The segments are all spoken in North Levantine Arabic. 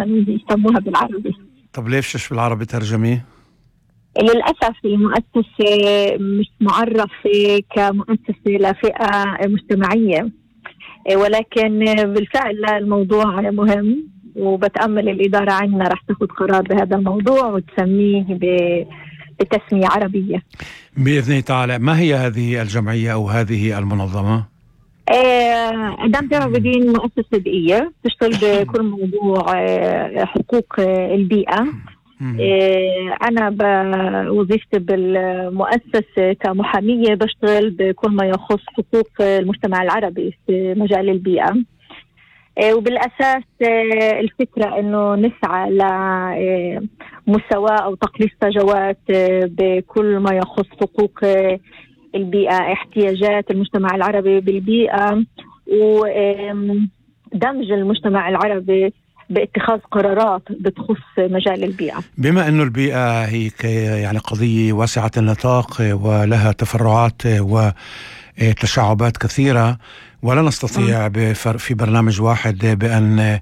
يسموها بالعربي. طب ليش بالعربي ترجمة؟ للأسف المؤسسة مش معرفة كمؤسسة لفئة مجتمعية، ولكن بالفعل الموضوع مهم، وبتأمل الإدارة عندنا رح تاخد قرار بهذا الموضوع وتسميه بتسمية عربية بإذن الله تعالى. ما هي هذه الجمعية أو هذه المنظمة؟ دام تعبدين مؤسسة بيئية تشتغل بكل موضوع حقوق البيئة. أنا بوظيفتي بالمؤسسة كمحامية بشتغل بكل ما يخص حقوق المجتمع العربي في مجال البيئة، وبالأساس الفكرة أنه نسعى لمساواة أو تقليص فجوات بكل ما يخص حقوق البيئة، احتياجات المجتمع العربي بالبيئة، ودمج المجتمع العربي باتخاذ قرارات بتخص مجال البيئة. بما أنه البيئة هي يعني قضية واسعة النطاق ولها تفرعات وتشعبات كثيرة، ولا نستطيع في برنامج واحد بأن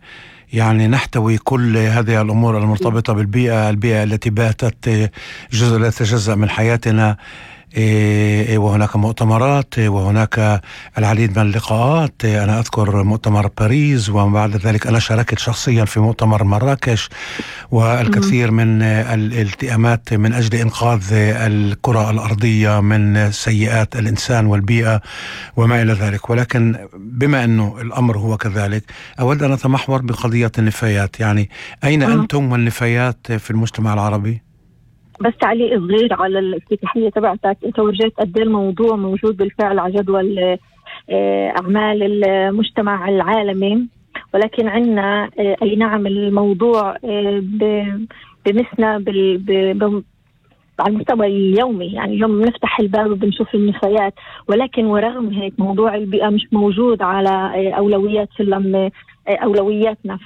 يعني نحتوي كل هذه الأمور المرتبطة بالبيئة، البيئة التي باتت جزء لا يتجزأ من حياتنا، وهناك مؤتمرات وهناك العديد من اللقاءات. أنا أذكر مؤتمر باريس، وبعد ذلك أنا شاركت شخصيا في مؤتمر مراكش، والكثير من الالتئامات من أجل إنقاذ الكرة الأرضية من سيئات الإنسان والبيئة وما إلى ذلك. ولكن بما أنه الأمر هو كذلك، أود أن أتمحور بقضية النفايات. يعني أين أنتم والنفايات في المجتمع العربي؟ بس تعليق صغير على الافتتاحية تبعتك، انت ورجيت قد ايه الموضوع موجود بالفعل على جدول اعمال المجتمع العالمي، ولكن عندنا اي نعم الموضوع بمسنا على المستوى اليومي، يعني اليوم بنفتح الباب وبنشوف النفايات، ولكن ورغم هيك موضوع البيئة مش موجود على اولويات سلم اولوياتنا.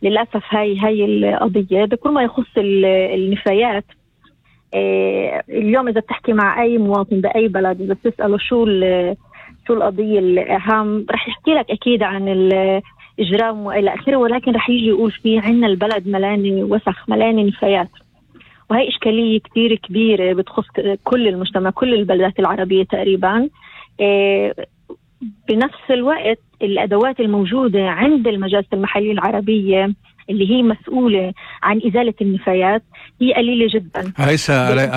للأسف هاي القضية بكل ما يخص النفايات. اليوم إذا بتحكي مع أي مواطن بأي بلد، إذا بتسأله شو القضية الأهم، رح يحكي لك أكيد عن الإجرام وإلى آخره، ولكن رح يجي يقول فيه عنا البلد ملاني وسخ، ملاني نفايات. وهي إشكالية كتير كبيرة بتخص كل المجتمع، كل البلدات العربية تقريبا. بنفس الوقت الأدوات الموجودة عند المجالس المحلية العربية اللي هي مسؤولة عن إزالة النفايات هي قليلة جدا.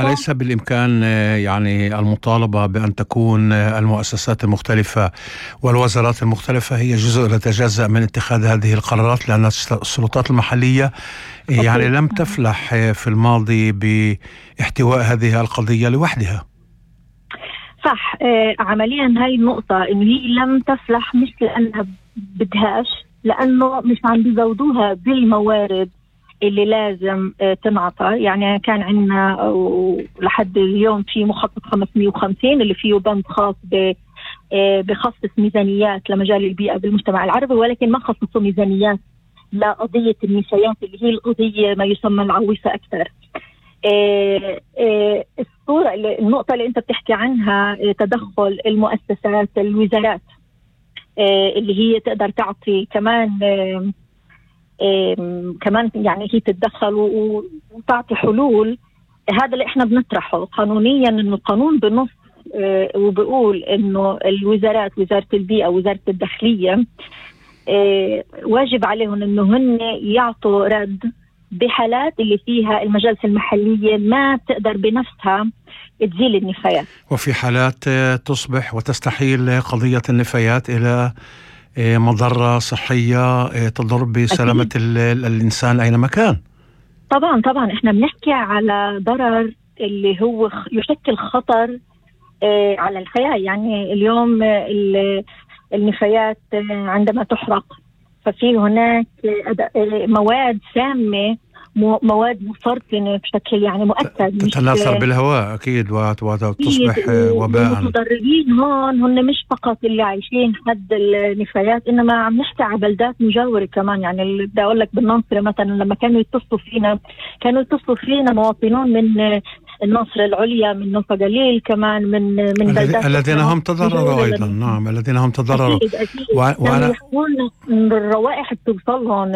أليس بالإمكان يعني المطالبة بأن تكون المؤسسات المختلفة والوزارات المختلفة هي جزء لا يتجزأ من اتخاذ هذه القرارات، لأن السلطات المحلية يعني لم تفلح في الماضي باحتواء هذه القضية لوحدها؟ صح. عمليا هاي النقطة إنه هي لم تفلح، مش لأنها بدهاش، لأنه مش عم بيزودوها بالموارد اللي لازم تنعطى. يعني كان عندنا لحد اليوم في مخطط 550 اللي فيه بند خاص بخصص ميزانيات لمجال البيئة بالمجتمع العربي، ولكن ما خصصوا ميزانيات لقضية النفايات اللي هي القضية ما يسمى العويصة أكثر. النقطة اللي أنت بتحكي عنها تدخل المؤسسات، الوزارات اللي هي تقدر تعطي كمان يعني هي تتدخل وتعطي حلول. هذا اللي احنا بنطرحه قانونيا، انه القانون بنص وبقول انه الوزارات، وزارة البيئة، وزارة الداخلية، واجب عليهم انه هن يعطوا رد بحالات اللي فيها المجالس المحلية ما تقدر بنفسها تزيل النفايات، وفي حالات تصبح وتستحيل قضية النفايات إلى مضرة صحية تضر بسلامة الإنسان أينما كان. طبعا احنا بنحكي على ضرر اللي هو يشكل خطر على الحياة. يعني اليوم النفايات عندما تحرق ففي هناك مواد سامة، مواد مسرطنة بشكل يعني مؤكد تتناثر بالهواء أكيد وتصبح وباء. المتضررين هون هن مش فقط اللي عايشين حد النفايات، إنما عم نحكي على بلدات مجاورة كمان. يعني بدي أقول لك بالناصرة مثلا لما كانوا يتصلوا فينا مواطنون من الناصر العليا، من نوفا قليل كمان، من بلدات الذين هم تضرروا أيضا. نعم، الذين هم تضرروا. أكيد. وأنا يحكون بالروائح بتوصلهم